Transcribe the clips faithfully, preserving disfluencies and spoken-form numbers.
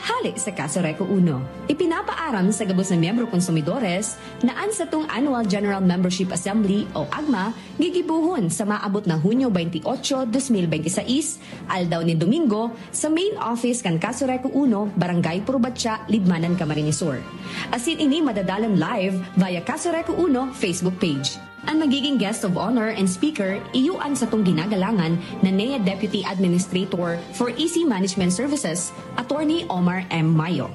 Hale sa Casureco Uno, ipinapaaram sa gabos na miyembro konsumidores na an satong Annual General Membership Assembly o AGMA gigibohon sa maabot na Hunyo twenty-eight, twenty twenty-six, aldaw nin Domingo, sa main office kan Casureco Uno, Barangay Purbatya, Libmanan, Camarines Sur. Asin ini madadalan live via Casureco Uno Facebook page. An magiging guest of honor and speaker iyo an satong ginagalangan na N E A Deputy Administrator for E C Management Services, Attorney Omar M. Mayo.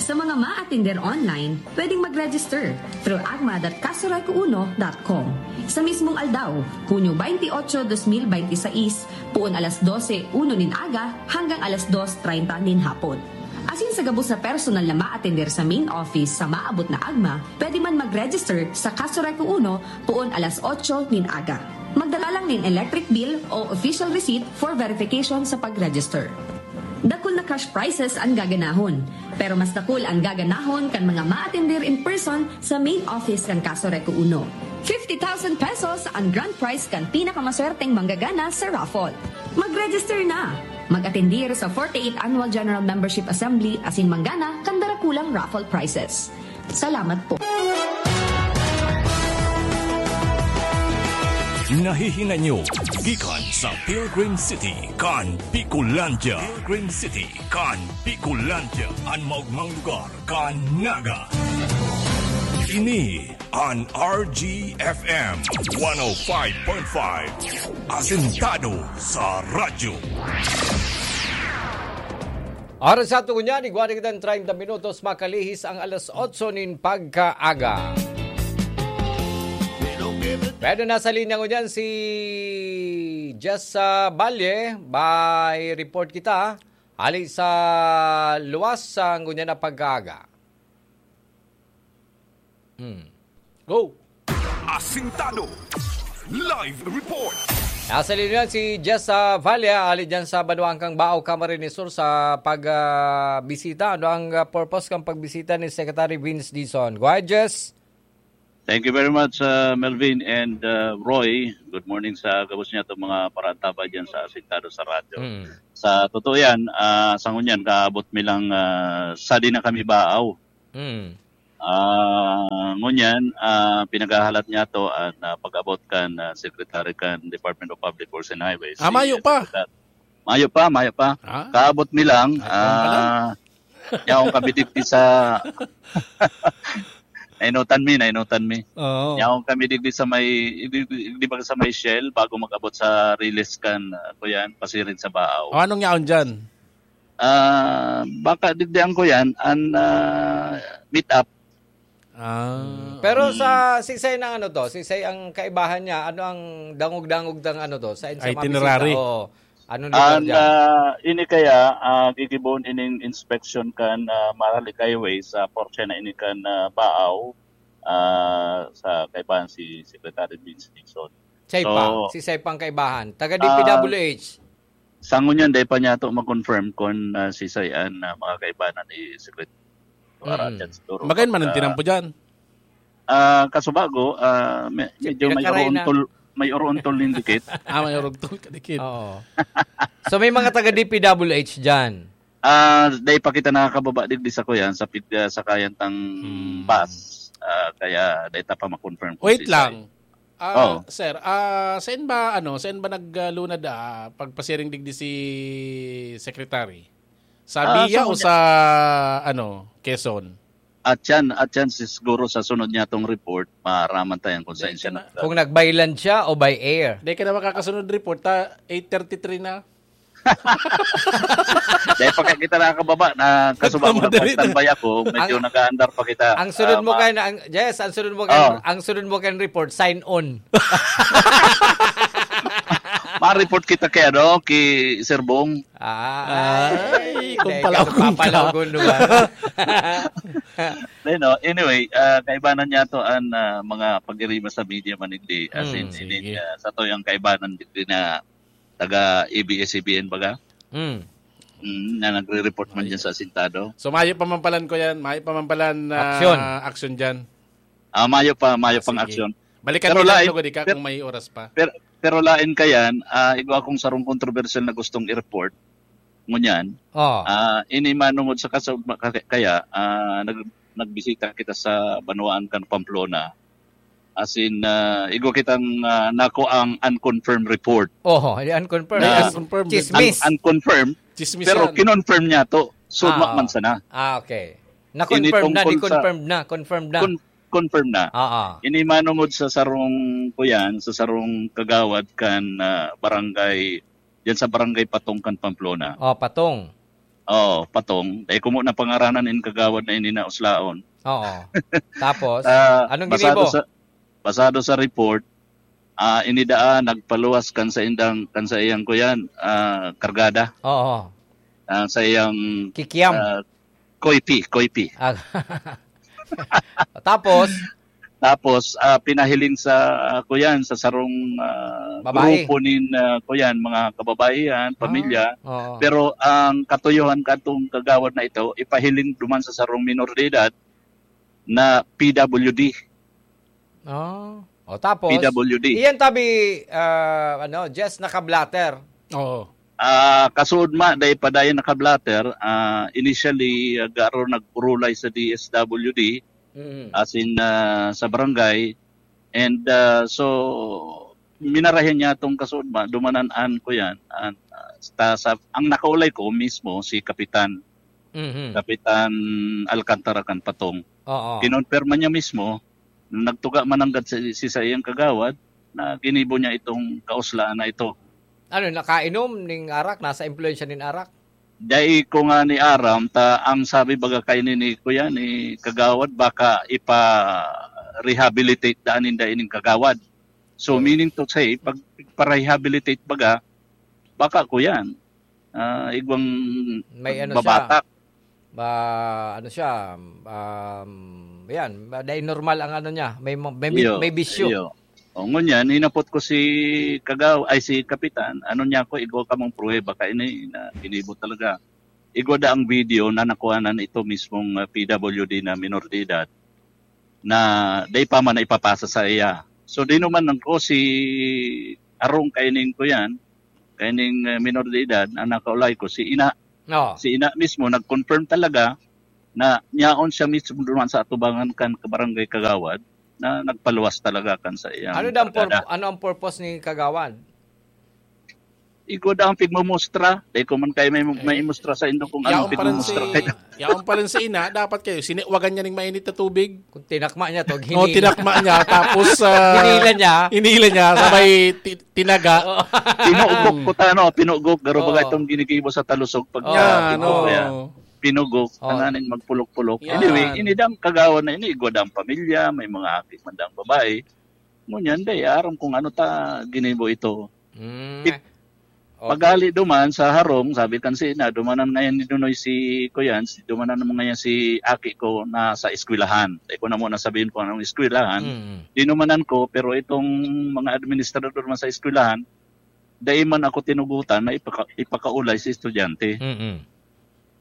Sa mga maatender online, pwedeng mag-register through agma dot casureco uno dot com. Sa mismong aldaw, Hunyo twenty-eight, twenty twenty-six, poon alas dose uno nin aga hanggang alas dos treinta nin hapon. Asin sa gabos na personal na maatender sa main office sa maabot na agma, pwede man mag-register sa Casureco Uno poon alas otso nin aga. Magdala lang nin electric bill o official receipt for verification sa pag-register. Dakul na cash prizes an gaganahon, pero mas dakul an gaganahon kan mga maatender in person sa main office kan Casureco Uno. Fifty thousand pesos an grand prize kan pinakamaswerteng manggagana sa raffle. Mag-register na! Mag-atendir sa forty-eighth Annual General Membership Assembly asin manggana kan darakulang raffle prizes. Salamat po. Nahihinay nyo gikan sa Pilgrim City kan Bicolandia. Pilgrim City kan Bicolandia, an maogmang lugar kan Naga. Ini an R G F M one oh five point five, asentado sa radyo. Oras sa ato ngunyan, igwa na kitang treinta minutos, makalihis ang alas otso nin pagkaaga. Pero nasa linya ngunyan si Jess, ah, Balye. May report kita. Hali sa luwas sa ngunyan na pagkaaga. Hmm. Go! Asintado. Live report. Nasa linya si Jess, ah, Valle, ali dyan sa banwaan kan Baao, Camarines Sur, sa pag, ah, bisita. Ano ang, ah, purpose kan pagbisita ni Secretary Vince Dizon? Go ahead, Jess. Thank you very much, uh, Melvin and, uh, Roy. Good morning sa gabos niya itong mga parantabay dyan sa Asintado sa Radyo. Mm. Sa totoo yan, ah, sa ngunyan, kaabot mi lang, ah, sa di na kami baaw. Mm. Ah, ngunyan, ah, pinaghahalat niya to an, ah, pag-abot kan, ah, Secretary kan Department of Public Works and Highways. Ah, Si, mayo ah, pa. Secretary. Mayo pa, mayo pa. Ah. Kaabot mi lang, Ay, kuwan pa lang. ah, yaon kami digdi sa, nainutan mi, nainutan mi. Oo. Yaon kami digdi sa may, di, di, di ba sa may Shell, bago mag-abot sa Riles kan, ah, kuyan, pasiring sa Baaw. O, anong yaon dyan? Ah, baka digdi ang kuyan, an, ah, meet up. Ah, Mm. Pero mm. sa, sisay ng ano to? Sisay ang kaibahan niya? Ano ang dangog-dangog ng ano to? Sa, sa mga Itinerary. bisita? Oo. Anong lugar Ang, dyan? ah, ini kaya, ah, gigibohon ining inspection kan, ah, Maralik Highway sa portion na ini kan, ah, Baaw, ah, sa kaibahan si Secretary Vince Dizon. Sisay So, pa? Sisay pang kaibahan? Taga ah, D P W H? Sa ngunyan, dai pa niya to ma-confirm kung, ah, sisay an, ah, mga kaibahan ni Secretary. Para Mm. dyan siguro Magayon man ang pagka tinampo dyan. Ah, kasubago, ah, me-, Si medyo may Pinakaray na. uruntol, may uruntol nin dikit. Ah, may uruntol ka dikit. Oo. So, may mga taga D P W H dyan? Ah, dai pa kita nakakababa digdi sa kuyan, sa pig-, ah, sa kayang tang Hmm. bus. Ah, kaya dai ta pa ma-confirm kung Wait sisay. lang. Ah, Oo. sir, ah, saan ba, ano, saan ba nag, ah, lunad, ah, pagpasiring digdi si Secretary? Sa Ah, BIA sa o una sa, ano, Quezon? At yan, at yan, si-, siguro sa sunod niya tong report, maaraman tayo kung saan Dahil siya ka na, nag- Kung nag-by land siya o by air. Dahil ka na makakasunod report, ta, eight thirty-three na. Dahil pagka kita nakakababa, na Ba't kasuba mo, madali na? nagpa-standby ako, medyo Ang, nag-aandar pa kita. ang sunod Ah, mo ma- kan, ang, yes, ang sunod mo kan, Oh. ang sunod mo kan report, sign on. Ma-report kita kay, ano, kay Sir Bong. Ah, Ay, ay, kung teka, palaw, kung papalaw, ka. kung lugar. Then, no, anyway, ah, kaibanan niya to ang, ah, mga pag-iriba sa media manigdi. As Hmm, in, sige. ini, ah, sa to yung kaibanan din na taga A B S-C B N baga. Hmm. Mm, na nagre-report man Ay. dyan sa asintado. So, mayo pa man palan ko yan. Mayo pa man palan, ah, Aksyon. aksyon dyan. Ah, mayo pa, mayo Ah, pang sige. aksyon. Balikan Pero kita lain, lugod ika per-, kung may oras pa. per-, pero lain ka yan, ah, igwa akong sarong kontrobersyal na gustong i-report. Ngunyan, Oh. ah, ini manungod sa kasug-, kaya, ah, nag-, nagbisita kita sa banwaan kan Pamplona. As in, ah, igwa kitang, ah, nako ang unconfirmed report. Oho, yung unconfirmed. Na Yes, unconfirmed. Chismis. Un-, unconfirmed, Chismis pero yan. kinonfirm niya to. So, Ah, man sana. ah, okay. Na-confirm Ini na, tungkol sa ni-confirmed na, confirmed na. Con-, confirm na. Ah, ah. Ini manungod sa sarong, kuyan, sa sarong kagawad kan, ah, barangay, diyan sa barangay Patong kan Pamplona. Oh, Patong. Oo, Patong. Dai ko mo na pangaranan in kagawad na ini na uslaon. Oo. Tapos, Ah, anong basado ginibo? sa, basado sa report, ah, ini daa nagpaluwas kan sa indang, kan sa iyang kuyan, ah, kargada. Oo. Ah, sa iyang, Kikiam. ah, koipi, koipi. Ah. Tapos? Tapos, ah, pinahiling sa, ah, kuyan, sa sarong, ah, Babae. grupo nin, ah, kuyan, mga kababaihan, Ah, pamilya. oo. Pero ang katuyohan katong kagawad na ito, ipahiling duman sa sarong minor de edad na P W D. Oh. O, tapos, P W D. iyan tabi, ah, ano, just naka-blotter. Oo. Ah, kasuod ma, dai pa dayon naka-blotter. Ah, initially, ah, garo nagpurulay sa D S W D, Mm. as in, ah, sa barangay. And, ah, so, minarahan niya tong kasuod ma, dumanan-an ko yan. An, ah, ta-, sa, ang nakaulay ko mismo, si Kapitan. Mhm. Kapitan Alcantara kan Patong. Oo. Kinonperma niya mismo, nagtuga man nanggad si, si sa iyang kagawad na ginibo niya itong kauslaan na ito. Ano, nakainom ning arak? Nasa impluwensya nin arak? Dai ko nga ni aram, ta ang sabi baga kaini ni kuya, ni kagawad, baka ipa-rehabilitate daan ninda ining kagawad. So, Oo. meaning to say, pag pa-rehabilitate baga, baka kuyan, ah, igwang May ano siya, babatak. ba, ano siya, um, yan, ba, dai normal ang ano niya, may mo-, may bi-, Iyo, may bisyo. iyo. O, ngunyan, hinapot ko si Kagaw-, ay, si Kapitan, ano niya ako, igwa kamong pruweba kaini na ginibo talaga. Igwa da ang video na nakuhanan ito mismong, ah, P W D na minor de edad na dai pa man na ipapasa sa iya. So, di naman lang ko si arong kaining ko yan, kaining, ah, minor de edad na nakaulay ko, si ina. Oo. Si ina mismo nag-confirm talaga na niyaon siya mismo duman sa atubangan kan kabarangay kagawad na nagpaluwas talaga kan sa iyang Ano daw ang pur-, barkada. Ano ang purpose ni kagawad? Igwa da ang pigmumustra. Dai ko man kayo may, may Eh, imustra sa indo kung yaon anong pa rin pigmumustra si, kayo. yaon pa rin si ina, dapat kayo, siniwagan niya ning mainit na tubig. Kung tinakma niya to, O, hinila. tinakma niya, tapos, ah, Hinila niya. hinila niya, sabay ti-, tinaga. Oo. Pinugok ko ta, no? Pinugok. Garo baga Oo. itong ginigibo sa Talusog pag Oo. niya, Yan, pinugok oo. kaya. Pinugok, Oo. tanganing magpulok-pulok. Yan. Anyway, ini dang kagawa na ini, igwa dang pamilya, may mga aki man dang babae. Ngunyan, day, aram kung ano ta ginibo ito. Mm. Ik-, Oh. paghali duman sa harong, sabi kan si ina, dumanan ngayon ni Dunoy si, kuyan, si, dumanan naman ngayon si aki ko na sa eskwelahan. Di ko na muna sabihin kung anong eskwelahan. Mm. Dinumanan ko, pero itong mga administrador man sa eskwelahan, dai man ako tinugutan na ipaka-, ipakaulay sa estudyante. Mm-mm.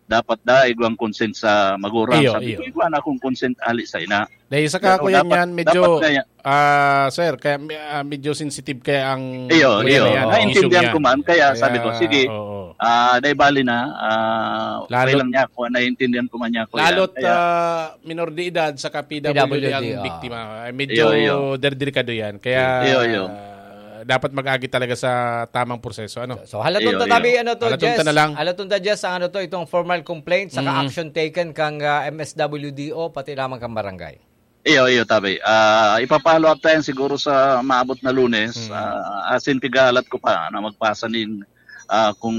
Dapat daig ang consent sa magulang. Iyo, Sabi iyo. ko, "Igwa na akong consent ali sa ina." Dahil sa Pero kakuyan dapat, niyan, medyo, dapat na yan. ah, sir, kaya, ah, medyo sensitive kaya ang Iyo, kuya iyo. na yan, ang Naintindihan issue niya. ko man, kaya sabi ko, Kaya, "Sige, oo. ah, dai bali na, ah, okay Lalo't lang niya ako, naiintindihan ko man niya ako yan." Lalo't, Kaya ah, minor de edad sa P W D P W D, ang ah. biktima. Ay, medyo Iyo, iyo. delikado yan. Kaya, Iyo, iyo. ah, dapat mag-agi talaga sa tamang proseso, ano? So, so, halaton Iyo, ta tabi, iyo. ano to, Halaton ta Jess? na lang. Halaton ta, Jess, ang ano to, itong formal complaint, saka Mm. action taken kang, ah, M S W D O, pati naman kang barangay. Iyo, iyo, tabi. Ah, ipa-follow up tayo siguro sa maabot na Lunes. Mm. Ah, as in, pighahalat ko pa na magpasa nin, ah, kung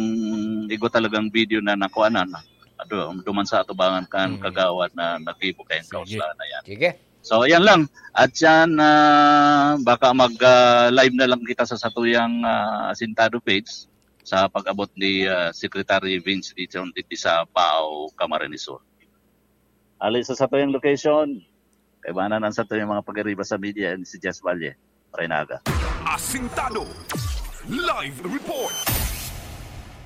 igo talagang video na nakuha na, na, adu-, duman sa atubangan kan Mm. kagawad na naggibo kayong Sige. kauslaan na yan. Sige. So, yan lang. At yan, ah, baka mag, ah, live na lang kita sa satuyang, ah, Asintado page sa pag-abot ni, ah, Secretary Vince Dizon dito sa Bao, Camarines Sur. Ali sa satuyang location, kaibanan ang satuyang mga pag-ariba sa media, and si Jess Valle, Marinaga. Asintado. Live report.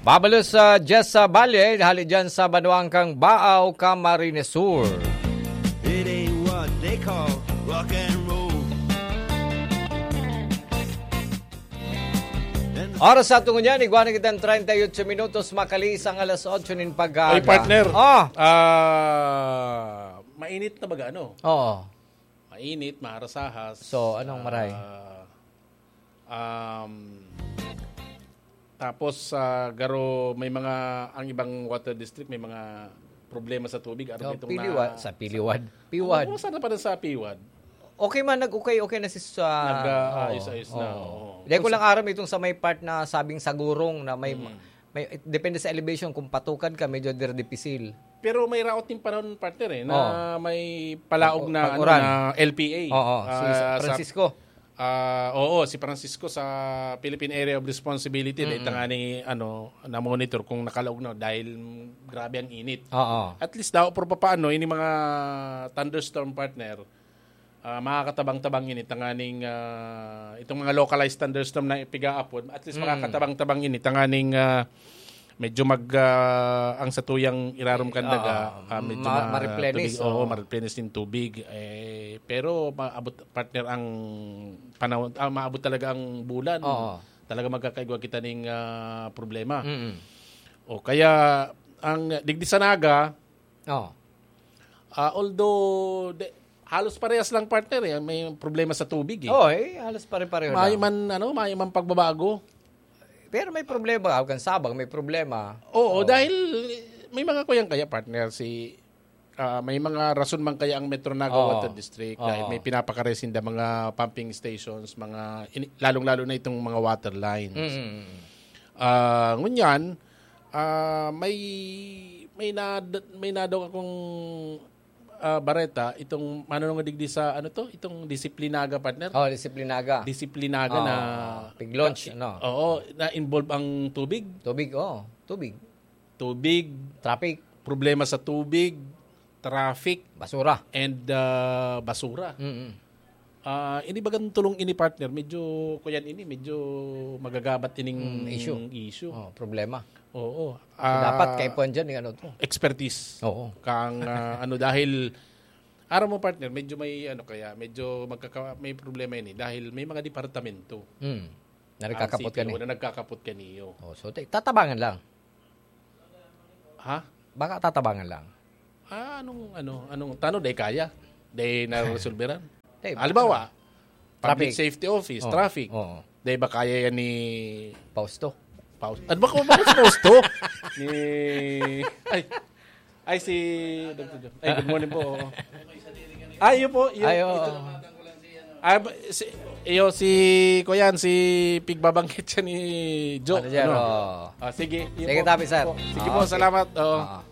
Babalo sa Jessa Valle, hali dyan sa banwang kang Bao, Camarines Sur. It ain't what they call rock and roll. And Oras sa tungo niyan, igwa na kitang treinta y ocho minutos, makaliis ang alas otso nin pag-aga. Ay, partner. Ah! Ah, mainit na baga, ano? Oo. Mainit, maharasahas. So, anong maray? Ah, um, tapos, ah, garo, may mga, ang ibang water district, may mga problema sa tubig. Ano Oh, itong piliwad, na, sa piliwad. Piwad. Oo, sana pa rin sa piwad. Okay man, nag-okay, okay na si sa Nag, ah, oo, ayos-ayos na, oo. oo. Dahil ko Kung lang sa aram itong sa may part na sabing sagurong na may, Mm. may, depende sa elevation, kung patukad ka, medyo dir-, dipisil. Pero may raot yung panahon, partner, eh, na Oh. may palaog Pag-, na, ano, pag-uran. na L P A. Oo, si Ah, sa Francisco. Ah, oo, si Francisco sa Philippine Area of Responsibility, Mm-mm. dahil tangani, ano, na-monitor kung nakalaog na dahil grabe ang init. Oo. At least daw, pero papaano, ini mga thunderstorm, partner, ah, makakatabang-tabang ini, tanganing, ah, itong mga localized thunderstorm na ipiga-apod, at least Mm. makakatabang-tabang ini, tanganing, ah, medyo mag, ah, ang satuyang irarom kan daga, Oo, ah, medyo ma-, ma-, ma-replenish, tubig, oo, oo. ma-replenish yung tubig. Eh, pero maabot, partner, ang panahon, ah, maabot talaga ang bulan. Oo. Talaga magkakaigwa kita ning, ah, problema. Mm. O kaya, ang digdi sa Naga, Oo. ah, although, de-, halos parehas lang, partner, eh. May problema sa tubig, eh. Oo, eh, halos pare-pareho May lang. man, ano, may man pagbabago. Pero may problema, kan Sabang may problema. Oo, Oo. dahil may mga kuyang kaya, partner, si, ah, may mga rason man kaya ang Metro Naga Oo. Water District dahil Oo. may pinapakaresinda mga pumping stations, mga ini-, lalong-lalo na itong mga water lines. Mm, mm, mm. Ah, ngunyan, ah, may, may nad-, may nadaw akong, ah, bareta, itong manunong digdi sa, ano to? Itong Disiplinaga, partner? Oh, Disiplinaga. Disiplinaga Oo, na pig-launch, ka-, ano? Oo, na-involve ang tubig. Tubig, oo. Tubig. Tubig. Traffic. Problema sa tubig, traffic, Basura. and, ah, basura. Mm-mm. Ah, ini bagang tulong ini, partner, medyo, kuyan ini, medyo magagabat ining Mm, issue. issue. Oh, problema. Oo. So, dapat Ah, kaipuhan dyan yung ano to. expertise. Oo. Kang, ah, ano, dahil, aram mo, partner, medyo may, ano, kaya, medyo magkaka-, may problema ini dahil may mga departamento Mm. Na ang nagkakapot ka city, ni. wala nagkakapot kaniyo. Oh, so, te-, tatabangan lang. Ha? Baka tatabangan lang. Ah, anong, ano, anong, tano, day kaya? Day naresolberan? Day, Halimbawa, ano? Public Traffic. Safety Office, Oo, traffic. oo. Day ba kaya yan ni Fausto? Faust-, ano ba ko, bakit si Fausto? Ni, ay, ay, si Doctor Joe. Ay, good morning po. Oo. Ay, yun po, yun, Ay, oo. ito. Ah, ba, si, iyo, si, kuyan, si pigbabanggit siya ni Joe, Manager, ano? oo. Ah, sige, yun Sige, po. Tapi, sir. Sige Ah, po, okay. salamat. Oo. Ah.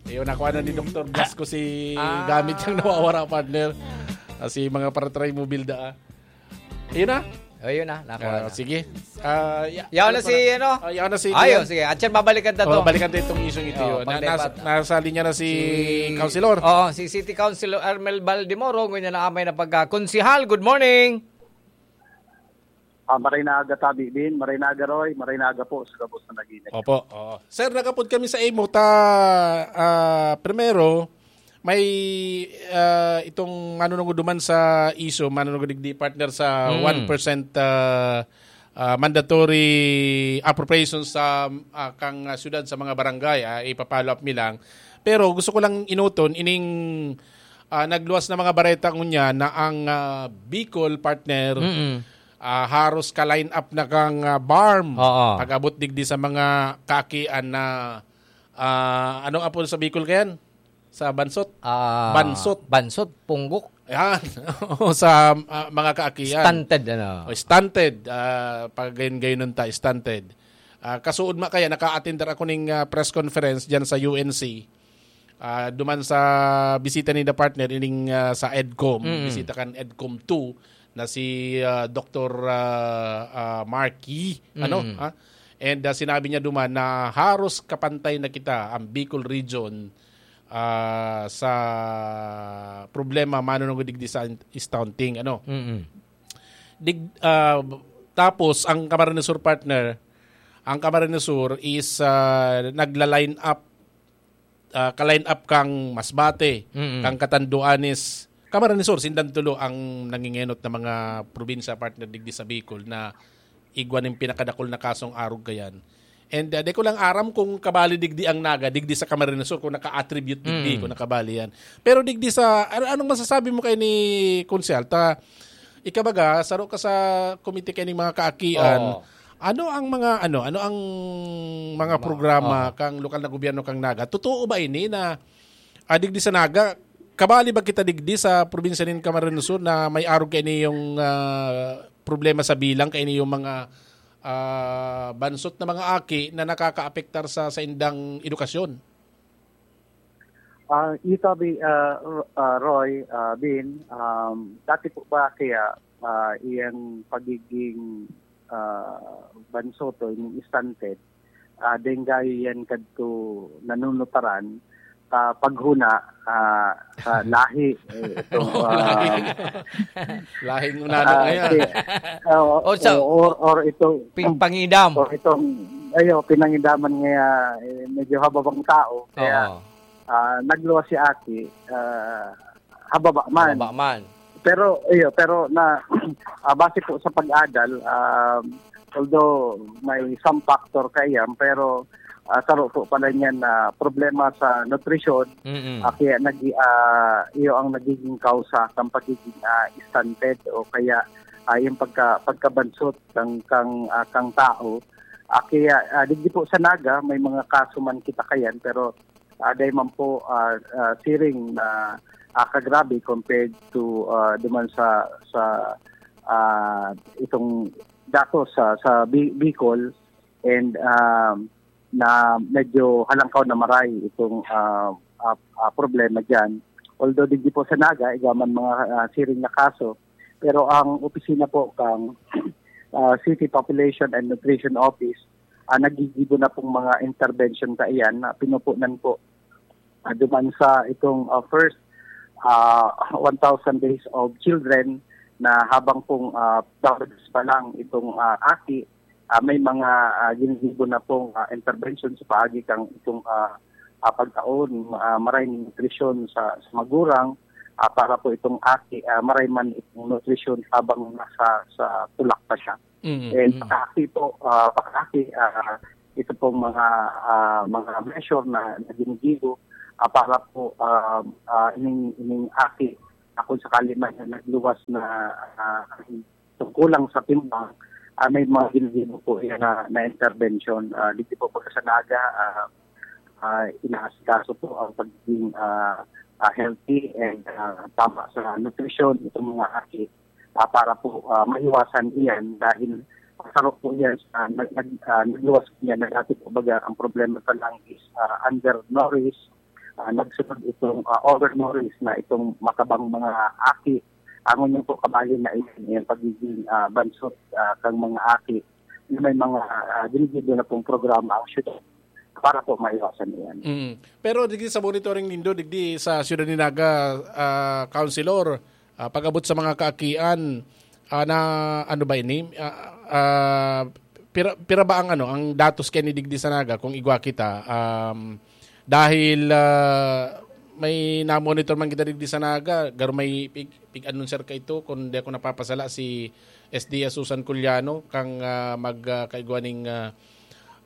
Iyo, nakuha na ni Doktor Blasco si Ah. gamit niyang nawawara, partner. Ah, si mga para-try mo, Bilda, ah. Ayun na. Oh, yun na, nakuha Ah, na. sige. Ah, ya-, Yaw ano na si, pala? ano? Ah, yaw na si Ay, Kuya. oh, sige. At yan, babalikan ta Oh, to. balikan ta itong isyong ito, Oh, yun. Na, pagdebat. nasa, nasa linya na si Si Councilor. Oo, si City Councilor Armel Baldemoro, ngunyan na amay na pagka-, Konsehal, good morning. Ah, maray na aga, Tabi Bin. Maray na aga, Roy. Maray na aga po sa gabos na nag-iinit. Opo, oo. Sir, nagapod kami sa imo ta, ah, primero, may, ah, itong manunungod duman sa iso, manunungod digdi, partner, sa Mm. one percent, ah, ah, mandatory appropriation sa, ah, kang, ah, syudad sa mga barangay, ah, ipa-follow up mi lang. Pero gusto ko lang inuton ining, ah, nagluwas na mga bareta ngunya na ang, ah, Bicol, partner, Mm. ah, haros ka-line up na kang, ah, BARMM. Oo. Pag-abot digdi sa mga kaakian na, ah, anong apod sa Bicol kayan? Sa bansot? Ah, Bansot. bansot, punggok. Ayan. Oo, sa, ah, mga kaakian. Stunted, ano? O, stunted. Ah, pag gayon-gayon ta, stunted. Ah, kasuod ma kaya, naka-attend ako ning, ah, press conference dyan sa U N C. Ah, duman sa bisita ni the partner, ining, ah, sa EDCOM. Mm. Bisita kan EDCOM two na si, ah, Doktor, ah, ah, Mark Yee. Ano? Mm. Ah? And, ah, sinabi niya duman na haros kapantay na kita, ang Bicol Region, ah, sa problema manunungod digdi sa stunting, ano. Mm. Dig-, ah, tapos ang Camarines Sur, partner, ang Camarines Sur is, ah, nagla-line up, ah, ka-line up kang Masbate, Mm. kang Catanduanes, Camarines Sur, sindan tulo ang nangingenot na mga probinsya, partner, digdi sa Bicol na igwa nin pinakadakul na kasong arog kayan. And, ah, di ko lang aram kung kabali digdi ang Naga, digdi sa Camarines Sur, kung naka-attribute digdi, Mm. kung nakabali yan. Pero digdi sa, ano, anong masasabi mo kay ni Konsehal? Ta, ikabaga, saro ka sa komite kay ning mga kaakian. Oo. Ano ang mga, ano, ano ang mga Ma-, programa oo. kang lokal na gobyerno kang Naga? Totoo ba ini na, ah, digdi sa Naga, kabali ba kita digdi sa probinsya nin Camarines Sur na may arog kaini yung, ah, problema sa bilang, kaini yung mga, ah, bansot na mga aki na nakakaapektar sa, sa indang edukasyon? Ah, ito, Abi, ah, Ro-, ah, Roy, ah, Bin, um, dati po ba kaya, ah, iyang pagiging, ah, bansot o yung stunted, ah, denggayo yan kadto nanunutaran, ah, paghuna, ah, sa lahi, eh, itong, Oh, ah, lahi. Lahing unano ah, ngayon. si-, ah, O sa or, or itong, pi-, pangidam. Or itong, ayo, pinangidaman nga, eh, medyo hababang tao. Kaya, Oo. ah, nagluwas si Aki, ah, hababa man. Hababa man. Pero, iyo, pero na, ah, base po sa pag-adal, um, although may some factor kaiyan, pero, ah, saro po pala niyan na problema sa nutrisyon, Mm-mm. ah, kaya nag-, ah, iyo ang nagiging kausa ng pagiging, ah, stunted o kaya, ah, yung pagka-, pagkabansot kang, kang, ah, kang tao. Ah, kaya, ah, digdi po sa Naga, may mga kaso man kita kayan, pero, ah, dahil man po, ah, ah, siring na, ah, kagrabe compared to, ah, duman sa, sa, ah, itong datos sa, sa Bi-, Bicol and, um, na medyo halangkaw na maray itong, ah, ah, ah, problema diyan. Although digdi po sa Naga, igaman mga, ah, siring na kaso, pero ang opisina po kang, ah, City Population and Nutrition Office, ah, nagigibo na pong mga intervention kaiyan na pinupunan po, ah, duman sa itong, ah, first, ah, one thousand days of children na habang pong, ah, daw pa lang itong, ah, aki, ah, may mga, ah, ginigibo na pong, ah, intervention sa paagi kang itong, ah, ah, pagkaon, ah, maray na nutrisyon sa, sa magurang, ah, para po itong aki, ah, maray man itong nutrisyon habang nasa, sa tulak pa siya. Mm, And mm. pag-aki po, ah, pag-aki, ah, ito pong mga, ah, mga measure na, na ginigibo, ah, para po, ah, ah, ining, ining aki, ah, kung sakali man na nagluwas na, ah, tungkulang sa timbang, ah, may mga ginigibo po yan na, na intervention. Ah, dito po pag sa Naga, ah, ah, inaasikaso po ang pagiging, ah, ah, healthy and, ah, tama sa nutrisyon itong mga aki, ah, para po, ah, maiwasan iyan dahil saro po yan sa nag-, nag-, ah, nagluwas po yan na dati po baga ang problema sa lung is, ah, undernourished, ah, nagsunod itong, ah, overnourished na itong matabang mga aki. Ang unang po kabali na iyan, yung pagiging, ah, bansot, ah, kang mga aki na may mga, ah, ginigibo na pong programa ang syudad para po maiwasan iyan. Mm. Pero digdi sa monitoring nindo, digdi sa Siyudad ni Naga, ah, Councilor, ah, pag-abot sa mga kaakian, ah, na ano ba ini? Ah, ah, pira, pira ba ang ano, ang datos kay ni digdi sa Naga kung igwa kita? Um, dahil, ah, may na-monitor man kita digdi sa Naga, garo may pig, pig-anunsar ka ito, kung di ako napapasala, si S D S Susan Culiano, kang, ah, mag, ah, kaigwa ning, ah,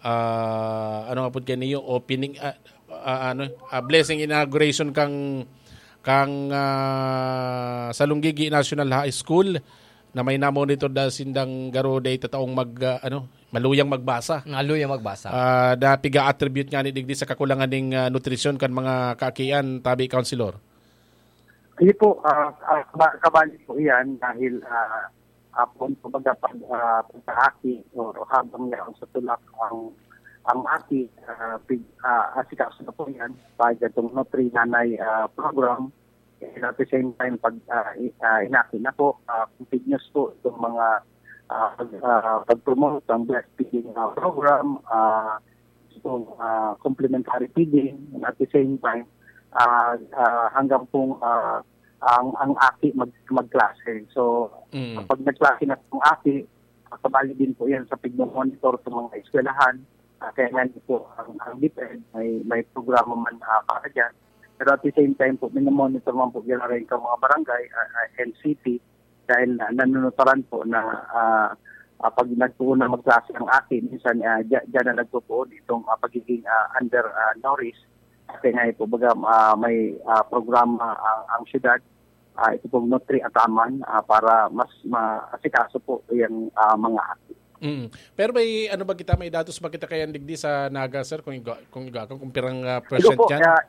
ah, ano nga pud kaniyo, opening, ah, ah, ano, ah, blessing inauguration kang, kang, ah, Salonggigi National High School na may na-monitor dahil sindang garo day tataong mag, ah, ano, maluyang magbasa. Maluyang magbasa. Ah, na piga-attribute nga ni digdi sa kakulangan ning, ah, nutrisyon kan mga kaakian, tabi, Councilor? Iyo po, ah, ah, kaba-, kabali po iyan dahil, ah, ah, poon kumbaga pag, ah, pagkaaki o habang yaon sa tulak ang, ang aki, ah, pig-, ah, asikaso na po yan, pag itong Nutri Nanay, ah, program, and at the same time, pag, ah, i-, ah, inaki na po, ah, continuous po itong mga, ah, pag, ah, pag-promote ng breastfeeding, ah, program, ah, itong, ah, complementary feeding, and at the same time, ah, ah, hanggang pong, ah, ang, ang aki mag-, magklase. So, Mm. kapag nagklase na pong aki, ah, kabali din po yan sa pigmo-monitor sa mga eskwelahan. Ah, kaya nga po, ang, ang DepEd may, may programa man, ah, para dyan. Pero at the same time po, minomonitor man po yan rin sa mga barangay, ah, ah, and city, dahil na, nanunutaran po na, ah, Ah, pag nagpoon na magklase ang aki, minsan, ah, dya-, dyan na nagpopoon itong, ah, pagiging, ah, under, ah, nourished. Kasi nga po, baga, ah, may, ah, programa ang, ang syudad, ah, ito pong Nutri Ataman, ah, para mas maasikaso po yung, ah, mga aki. Mm. Pero may ano ba kita, may datos ba kita kayan digdi sa Naga, sir, kung iga-, kung iga-, kung pirang, ah, Ito percent po, yan? Ah,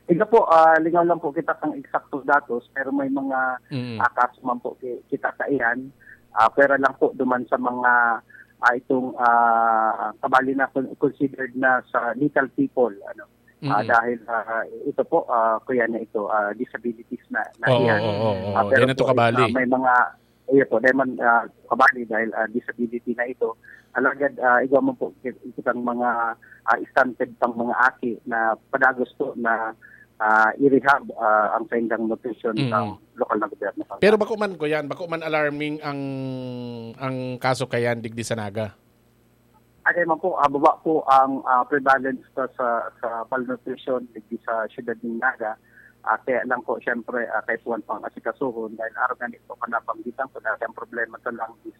ito po, ah, lingaw lang po kita kang eksakto datos, pero may mga, Mm. ah, kaso man po ki-, kita sa iyan. Ah, pwera lang po duman sa mga, ah, itong, ah, kabali na con-, considered na sa little people, ano. Ah, Mm. dahil, ah, ito po, ah, kuya na ito, ah, disabilities na, na Oo, iyan. Oo, oo, Ah, oo. pero Di na to po, kabali. Ah, may mga, iyo po, dahil man, ah, kabali dahil, ah, disability na ito. Alagad, ah, igwa man po kit-, kitang mga, ah, stunted pang mga aki na padagos po na, ah, i-rehab, ah, ang saindang nutrition Mm. sa lokal na gobyerno. Pero bako man, kuya, bako man alarming ang, ang kaso kayan digdi sa Naga? Ano man po, ah, baba po ang, ah, prevalence sa, sa, sa malnutrition digdi sa siyudad ng Naga. Ah, kaya lang po, siyempre, ah, kaipuhan pang asikasuhon dahil araw nga nito, kanapanggitan ko, dati ang problema sa lang is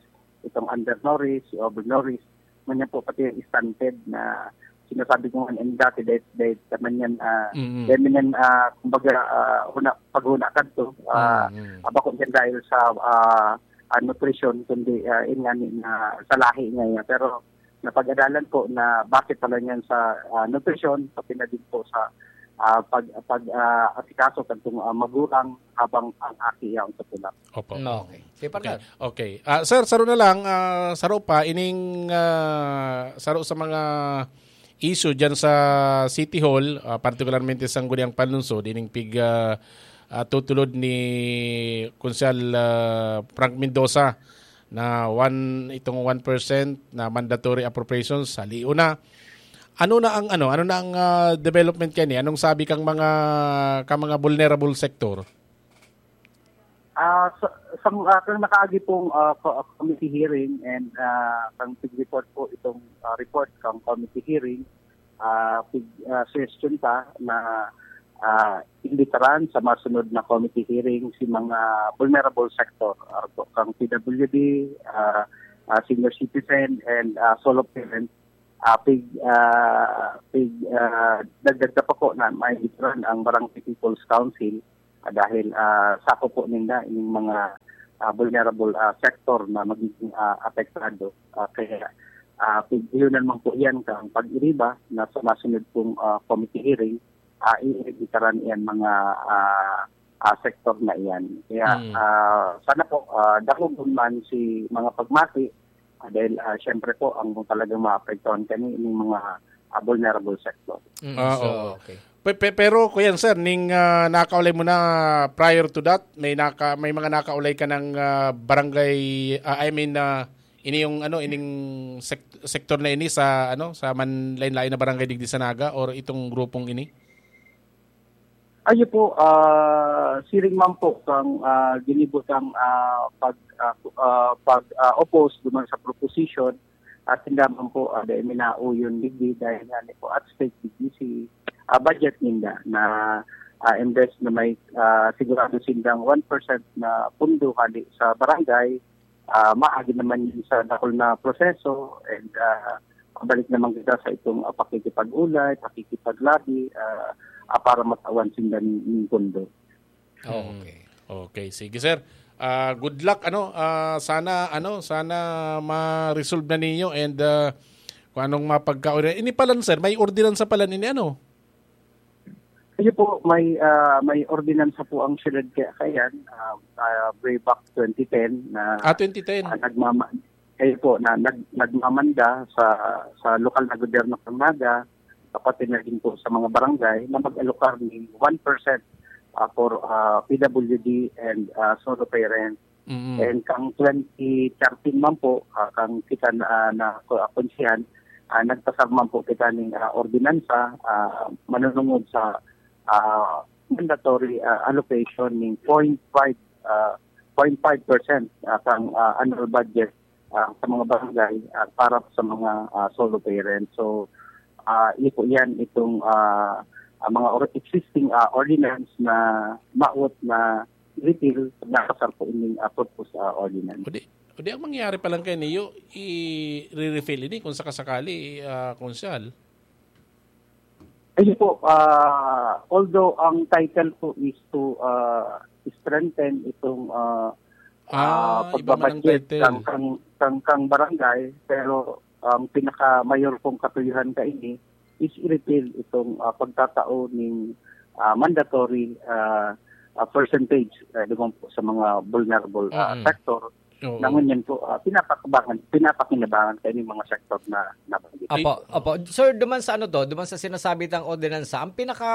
itong undernourished, overnourished, ngunyan po pati yung stunted na sinasabi ko nga, and dati, dahil, dahil sa manyan, ah, Mm. dahil manyan, ah, kumbaga, ah, huna, paghuna kadto, ah, Mm. ah, bako yan dahil sa, ah, ah, nutrition, kundi, ah, yun nga ni, na sa lahi niya yan. Pero napag-adalan po na base pala niyan sa, ah, nutrition, pati na din po sa, ah, pag, pag, ah, asikaso kadtong, ah, magulang habang ang aki yaon sa tulak. Opo. No, okay. Sige, Okay. partner. Okay. Ah, sir, saro na lang, ah, saro pa, ining, ah, saro sa mga issue dyan sa City Hall, ah, partikularmente sa Sangguniang Panlungsod, ining pig, ah, ah, tutulod ni Konsehal, ah, Frank Mendoza na one, itong one percent na mandatory appropriations, halion na. Ano na ang, ano, ano na ang, ah, development kani? Anong sabi kang mga, kang mga vulnerable sector? Ah, sa, sa, ah, kang nakaagi pong, ah, co-, committee hearing and, ah, kang report po itong, ah, report kang committee hearing, ah, pig-, ah, suggestion ta na, ah, imbitaran sa masunod na committee hearing si mga vulnerable sector, ah, po, kang P W D, ah, ah, senior citizen, and, ah, solo parent. Ah, pig-, ah, pig-, ah, dagdag na pa po na maimbitaran ang Barangay People's Council, ah, dahil, ah, sako po ninda ining mga, ah, vulnerable, ah, sector na magiging, ah, apektado. Ah, kaya, ah, pig-, iyon naman po yan kang pag-iriba na sa masunod pong, ah, committee hearing, ah, iimbitaran iyan mga, ah, ah, sektor na iyan. Kaya, Mm. ah, sana po, ah, dangogon man si mga pagmati, ah, dahil, ah, siyempre po, ang talagang maapektuhan kani, yung mga, ah, vulnerable sector. Mm, Ah, so, oo. okay. Pe-, pe-, pero, kuya, sir, ning, ah, nakaulay mo na prior to that, may naka-, may mga nakaulay ka ng, ah, barangay, ah, I mean, ah, ini yung, ano, ining sek-, sektor na ini sa, ano, sa man-, lain-lain na barangay digdi sa Naga or itong grupong ini? Ayo po, ah, siring man po kang, ah, ginibutang, ah, pag, ah, ah, pag, ah, oppose duman sa proposition, at sinda man po, ah, dai minauyon digdi dahil nga ni po at stake digdi si, ah, budget ninda na, ah, imbes na may, ah, sigurado sindang one percent na pundo hali sa barangay, ah, maagi naman yun sa dakul na proseso and, ah, pabalik naman kita sa itong, ah, pakikipag-ulay, pakikipag-lobby, ah, ah, para matawan sinda ning, ning pundo. Oh, Mm. okay. Okay, sige, sir. Ah, good luck, ano, ah, sana, ano, sana ma-resolve na ninyo and, ah, kung anong mapagkauri. Ini palan, sir, may ordinansa palan ini, ano? Ayun po, may, ah, may ordinansa po ang siyudad kaya, kayan, ah, ah, way back twenty ten na, Ah, twenty ten. ah, nagmama-, ayun po, na nag-, nagmamanda sa, sa lokal na gobyerno ng Naga, pati na din po sa mga barangay na mag-alokar ni one percent, ah, for, ah, P W D and, ah, solo parent. Mm. And kang twenty thirteen man po, ah, kang kita na, ah, na ko-, ah, konsihan, ah, nagpasar man po kita ning, ah, ordinansa, ah, manunungod sa, ah, mandatory, ah, allocation ning point five, ah, point five percent, ah, kang, ah, annual budget, ah, sa mga barangay, ah, para sa mga, ah, solo parents. So, ah, iyo po yan, itong, ah, ang mga or-, existing, ah, ordinance na maot na repeal, nakasar po ining, ah, proposed, ah, ordinance. O di, O di ang mangyayari pa lang kayo niyo, i-refill ini kung sakasakali, ah, Konsehal. Ayun po, ah, although ang title po is to ah, strengthen itong ah, ah, Ah, iba man ang pagbabudget title. kang, kang, kang, kang barangay, pero ang pinaka-mayor pong katuyuhan kaini is i-repeal itong ah, pagtatao ning ah, mandatory ah, ah, percentage ah, duman po sa mga vulnerable ah, Mm. sector. Oo. Na ngunyan po, ah, pinapakabangan, pinapakinabangan kaini mga sektor na nabanggit. Opo, opo. Sir, duman sa ano to, duman sa sinasabi tang ordinansa, ang pinaka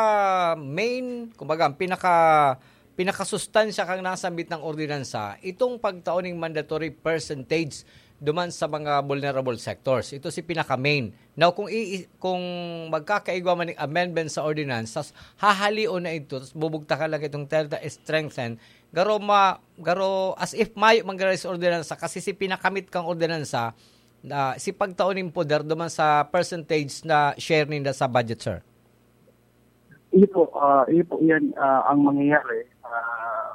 main, kumbaga, ang pinaka pinakasustansya kang nasambit ng ordinansa, itong pagtao ning mandatory percentage duman sa mga vulnerable sectors. Ito si pinaka main. Now, kung i, kung magkakaigwa man ng amendment sa ordinansa, hahalion na ito, tas bubugtakan lang itong Delta strengthen, garo ma, garo as if mayo man garo sa ordinansa kasi si pinakamit kang ordinansa na si pagtao ning poder duman sa percentage na share ninda sa budget, sir. Iyo po, ah, iyo po yan ah, ang mangyayari ah,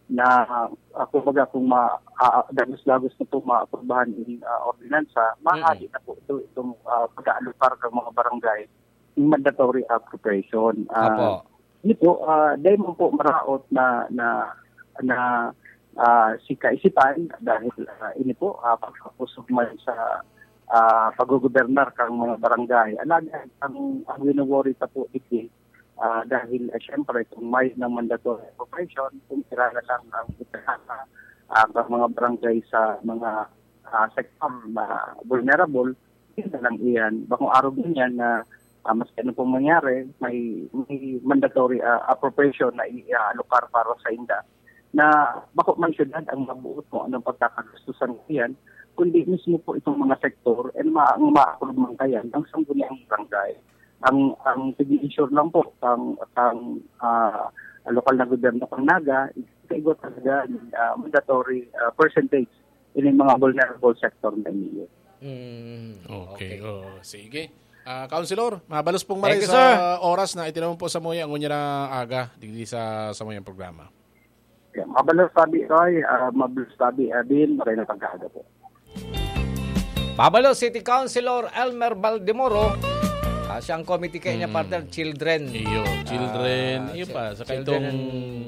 na ah, kumbaga kung ma, ah, dagos-dagos na po maaprubahan in ah, ordinansa, mahali na po ito itong ah, pag-aalokar ng mga barangay ng mandatory appropriation. Ah, Apo. Iyo po, ah, dahil mo po maraot na na na ah, si kaisipan dahil ah, ini po ah, pagkapusog man sa ah, paggogobernar kang mga barangay. Alagad ang ang wino-worry ta po digdi ah, dahil ah, syempre kung may ng mandatory appropriation, kung sira na lang ang itahasa ah, ang mga barangay sa mga ah, sektor na vulnerable, yun na lang iyan. Bakong araw din yan na ah, maski ano pong mangyari, may, may mandatory ah, appropriation na i-allocate para sa inda na bako man syudad ang mabuot kung anong pagkakagastusan ko yan, kundi mismo po itong mga sektor and ma ang ma-approve man kayan ang sangguniang barangay. Ang ang pag-ensure lang po kang kang ah, lokal na gobyerno kang Naga, kaigwa talaga ni ah, mandatory ah, percentage in mga vulnerable sector na ini. Mm, Okay, oo. Sige. Ah, Councilor, mabalos pong maray Thank you, sa sir. oras na itinawag po sa muya ngunyan na aga, digdi sa sa muyang programa. Kaya mabalos sabi Roy, ah, mabalos sabi Abin, maray na pagkaaga po. Pabalo City Councilor Elmer Baldemoro, ah, siya ang committee kanya, Mm. partner, children. Iyo, children, Ah, iyo chi- pa, saka children itong and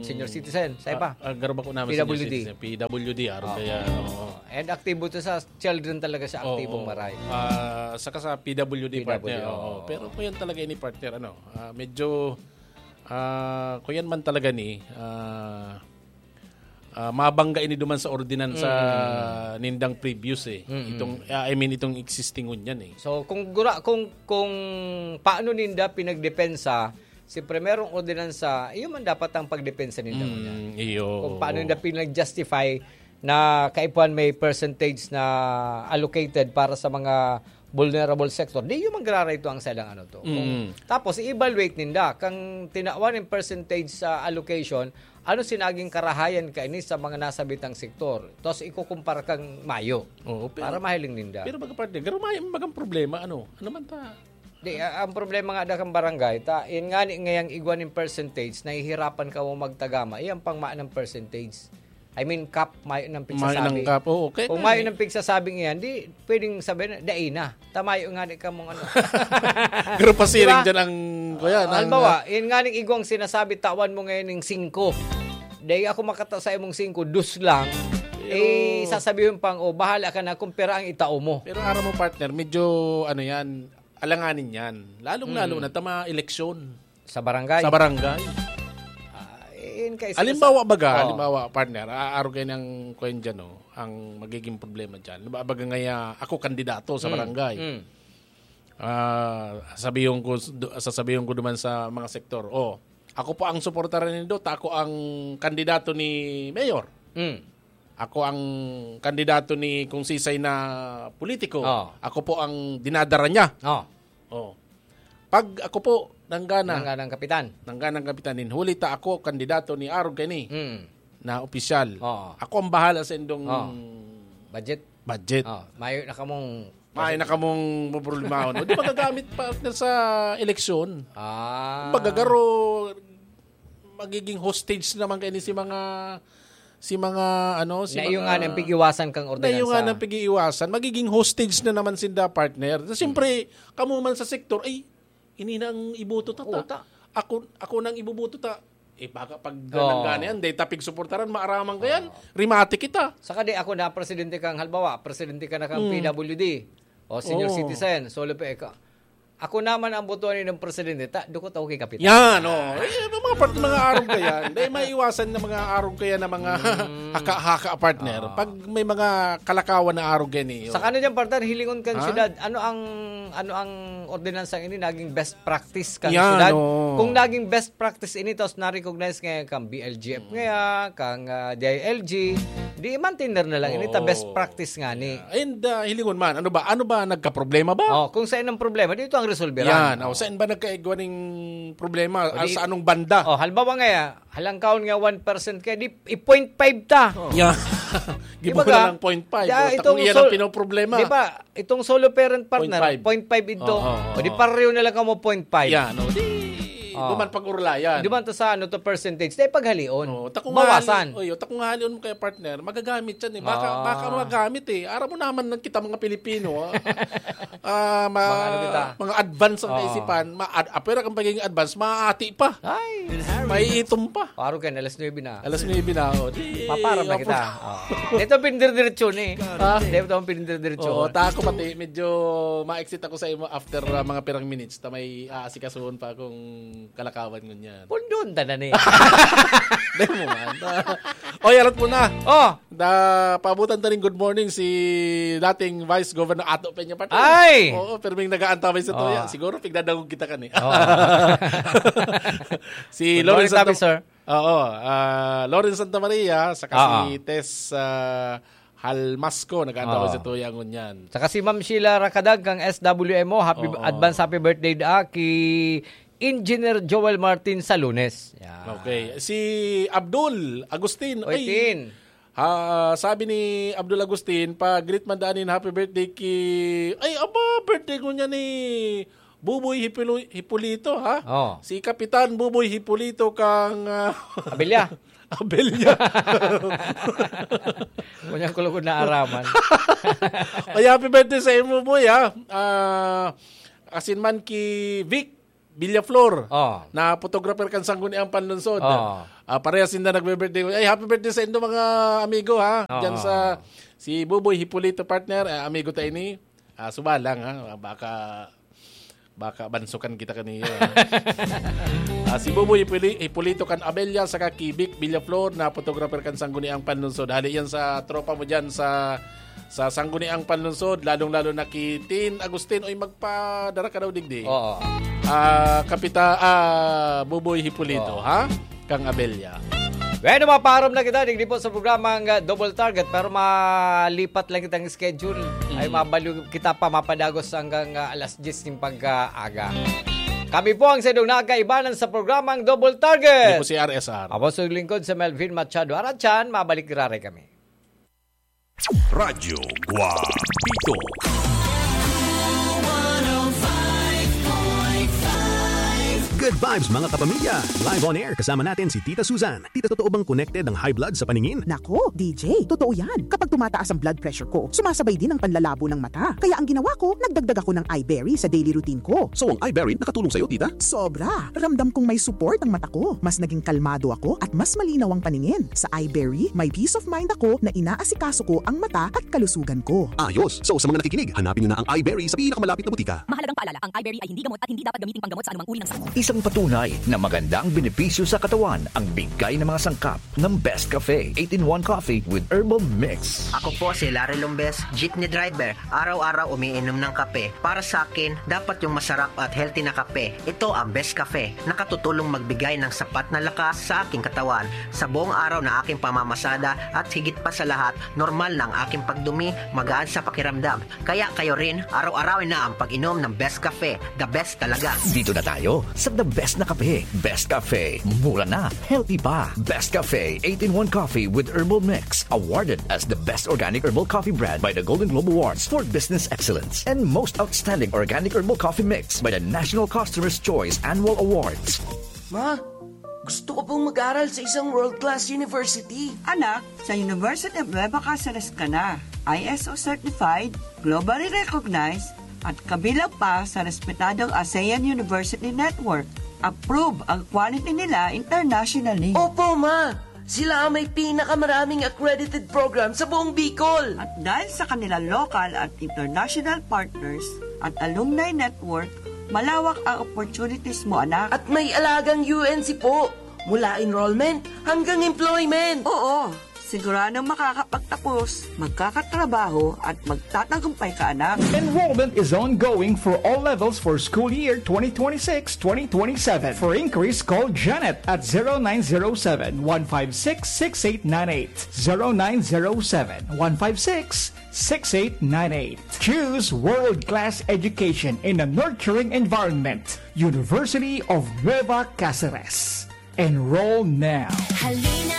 senior citizen, sa iba. Ah, ah, garba ko naman P W D. P W D, araw Oo. kaya, oo. And aktibo to sa children talaga siya, aktibong Oo. maray. Ah, saka sa P W D, P W D, partner. Oo. oo. Pero kung yan talaga ini, partner, ano, ah, medyo, ah, kung yan man talaga ni, ah, ah, mabangga ini duman sa ordinansa Mm. nindang previous eh. Mm. Itong, ah, I mean, itong existing ngunyan eh. So kung gura, kung kung paano ninda pinagdepensa si primerong ordinansa, iyo man dapat ang pagdepensa ninda Mm, ngunyan. iyo. Kung paano ninda pinag-justify na kaipuhan may percentage na allocated para sa mga vulnerable sector, di yung magrarayto ang silang ano to. Kung, Mm. Tapos i-evaluate ninda kang tinawan ng percentage sa allocation, ano sinaging karahayan kaini sa mga nasabitang sektor. Tapos ikukumpara kang mayo Oo, pero, para mahiling ninda. Pero baga partner, garo may magang problema, ano? Ano man ta? Di, a- ang problema nga da kang barangay, ta, in nga ni ngayang igwa ning percentage, nahihirapan ka mo magtagama. Iyan pang maan ng percentage. I mean, cap, mayo ng Mayo ng pigsasabi. cap, oo, okay Kung na mayo eh. ng pigsasabi ngayon, di, pwedeng sabihin, dai na. Ta mayo nga ni kamong ano. Pero pasiring Diba? dyan ang, kuya, Ah, halimbawa, yun nga ning igwang sinasabi, tawan mo ngayon ng singko. Dai ako makata sa imong singko, dos lang. Eh, sasabihin pang, oh, bahala ka na kung pera ang itao mo. Pero aram mo, partner, medyo, ano yan, alanganin yan. Lalong-lalo Mm. na tama eleksyon Sa barangay. sa barangay. Ah, yun kay Halimbawa baga, Oh. halimbawa, partner, aaro kayo ng kuwan dyan, no? Ang magiging problema dyan. Halimbawa baga ngaya, ako kandidato sa Mm, barangay. mm. Ah, sabihin ko, sasabihin ko duman sa mga sektor, oh, ako po ang suportaran nindo, ta ako ang kandidato ni Mayor. Mm. Ako ang kandidato ni kung sisay na politiko. Oh. Ako po ang dinadara niya. Oh. Oh. Pag ako po, nanggana, Nanggana ang kapitan. Nangganang kapitan nin huli ta ako kandidato ni Arog kani Mm. na opisyal. Oo. Ako ang bahala sa indong Oo. Budget. budget. Oh, mayo na kamong May na kamong problema. No? Di magagamit, partner, sa eleksyon. Ah. Kumbaga, garo, magiging hostage naman kayo ni si mga Si mga, ano, si Na iyo mga nga nang pig-iwasan kang na iyo nga ordinansa. nang pig-iiwasan, magiging hostage na naman sinda, partner. Na siyempre, kamo man sa sektor, "Ay, ini na ang iboto ta, ta. Oo, ta. Ako, ako nang iboboto ta." Eh, baka pag Oo. nanggana yan, dahil tapig suportaran, maaraman ka yan, Oo. rimati kita. Saka di ako na presidente kang, halimbawa, presidente ka na kang Hmm. P W D, o senior Oo. citizen, solo pa ka. Ako naman ang botohan ng presidente, ta, dukot ako kay Kapitan. Yan, oh. Eh, may mga part, mga arog ka yan. Dahil maiwasan na mga arog kaya na mga Mm. haka-haka, partner. Oo. Pag may mga kalakawan na arog yan, eh, oh. Sa kano dyan, partner, hilingon kan Ha? syudad, ano ang, ano ang ordinansang ini naging best practice kan Yan, syudad? oh. Kung naging best practice ini, tapos na-recognize ngayon kang B L G F Mm. ngayon, kang, ah, D I L G, di i-maintain na lang ini, ta best Oo. practice nga ni. Yeah. And, ah, hilingon man, ano ba? Ano ba? Nagkaproblema ba? Oh, kung saan ang problema, dito ang resolveran. Yan. Oh, Oh. saan ba nagkaigwa ning problema? O Ah, di sa anong banda? Oh, halimbawa nga, halangkaon nga one percent kaya di, i point five ta. Oh. Yeah. Di Gibo ba na ka? lang point five. Yeah, Oh, itong takong iyan ang sol-, pinoproblema. di ba, itong solo parent partner, Point five. point five ito. Oo, oo, O di oo. pareho na lang kamo point five. Yeah, no. Di, Oh. duman pag-urulayan. Di man to sa ano to percentage, tayo paghalion. Oh, takong Bawasan. hali-, oy, takong halion mo kaya partner, magagamit yan eh. Baka, Ah. baka magamit eh. Aram mo naman ng kita mga Pilipino, ah. Ah, ma-, Mga ano kita? mga advance ang Oo. kaisipan, ma-, ad-, apwera kang pagiging advance, maaati pa. Ay. May itom pa. Paro ka, alas nuebe na. Alas nuebe na, oh. Di, Paparam na opo. kita. Oh. Ito, pindirdiretso ni. Ha? Ito, pindirdiretso. Oo, ta ako pati, medyo ma-exit ako sa imo after, ah, mga pirang minutes. Ta may aasikasuhon pa akong kalakawan ngunyan. Pundon, tanan eh. Dahil mo man. Oy, arat mo na. Oh! Da, paabutan ta rin good morning si dating Vice Governor Ato Peña Patel. Ay! Oo, pero may nag-aantabay sa Oo. tuya. Siguro, pigdadangog kita kan eh. Oo. Si Good Lawrence morning, Santa Tabi, sir. Oo, ah, Lawrence Santa Maria, saka Oo. si Tess, ah, Halmasco, nag-aantabay Oo. sa tuya ngunyan. Saka si Ma'am Sheila Rakadag kang S W M O, happy, Oo. advance happy birthday da ki Engineer Joel Martin sa Lunes. Yan. Okay. Si Abdul Agustin, Oy, ay, Tin. Ha, sabi ni Abdul Agustin, pa-greet man daan in happy birthday ki, ay, aba, birthday ko niya ni Buboy Hipulo-, Hipolito, ha? Oh. Si Kapitan Buboy Hipolito kang, ah, Abelya. Abelya. Kunyang kulog na araman. Ay, happy birthday sa imo, boy, ha? Ah, asin man ki Vic Villaflor, Oh. na photographer kan Sangguniang Panlungsod. Oh. Ah, parehas sinda nagbe-birthday. Ay, happy birthday sa indo, mga amigo, ha? Oh. Diyan sa, si Buboy Hipolito, partner, ah, amigo ta ini. Ah, suba lang, ha? Baka, baka bansukan kita kaniya, ha? Ah, si Buboy Hipoli-, Hipolito kan Abella, saka ki Vic Villaflor, na photographer kan Sangguniang Panlungsod. Hali yan sa tropa mo diyan sa sa Sangguniang Panlungsod, lalong-lalo na ki Tin Agustin. Oy, magpadara ka daw digdi. Oo. Ah, Kapita-, ah, Buboy Hipolito, Oo. ha? Kang Abella. Bueno, mapaharom na kita, digdi po sa programang, ah, Double Target, pero malipat lang kitang schedule. Mm. Ay, mabalo kita pa, mapadagos hanggang, ah, alas diyes ng pag-aaga. Kami po ang saindong nagkaibanan sa programang Double Target. Ako po si R S R. Ako sa lingkod sa Melvin Machado Arachan, mabalik giraray kami. Radyo Guapito. Good vibes, mga kapamilya! Live on air, kasama natin si Tita Susan. Tita, totoo bang connected ang high blood sa paningin? Nako, D J, totoo yan. Kapag tumataas ang blood pressure ko, sumasabay din ang panlalabo ng mata. Kaya ang ginawa ko, nagdagdag ako ng Iberry sa daily routine ko. So, ang Iberry nakatulong sa'yo, Tita? Sobra! Ramdam kong may support ang mata ko. Mas naging kalmado ako at mas malinaw ang paningin. Sa Iberry, may peace of mind ako na inaasikaso ko ang mata at kalusugan ko. Ayos! So, sa mga nakikinig, hanapin nyo na ang Iberry sa pinakamalapit na butika. Mahalagang paalala, ang Iberry ay hindi gamot at hindi dapat gamiting panggamot sa anumang uri ng sakit. Isang patunay na maganda ang benepisyo sa katawan ang bigay ng mga sangkap ng Best Cafe, eight-in-one Coffee with Herbal Mix. Ako po si Larry Lombes, jeepney driver. Araw-araw umiinom ng kape. Para sa akin, dapat yung masarap at healthy na kape. Ito ang Best Cafe. Nakatutulong magbigay ng sapat na lakas sa aking katawan. Sa buong araw na aking pamamasada at higit pa sa lahat, normal na ang aking pagdumi, magaan sa pakiramdam. Kaya kayo rin, araw-arawin na ang pag-inom ng Best Cafe. The best talaga. Dito na tayo sa the best na kape. Best Cafe. Mura na. Healthy pa. Best Cafe eight-in-one Coffee with Herbal Mix. Awarded as the best organic herbal coffee brand by the Golden Globe Awards for Business Excellence. And most outstanding organic herbal coffee mix by the National Customer's Choice Annual Awards. Ma, Gusto ko pong mag-aral sa isang world-class university. Anak, sa University of Nueva Caceres ka na. I S O certified, globally recognized, at kabilang pa sa respetadong ASEAN University Network. Approve ang quality nila internationally. Opo, ma! Sila ang may pinakamaraming accredited program sa buong Bicol. At dahil sa kanilang local at international partners at alumni network, malawak ang opportunities mo, anak. At may alagang U N C po, mula enrollment hanggang employment. Oo, siguradong makakapagtapos, magkakatrabaho at magtatagumpay ka, anak. Enrollment is ongoing for all levels for school year twenty twenty-six twenty twenty-seven. For inquiries, call Janet at zero nine zero seven, one five six, six eight nine eight. zero nine zero seven, one five six, six eight nine eight. Choose world-class education in a nurturing environment. University of Nueva Caceres. Enroll now. Halina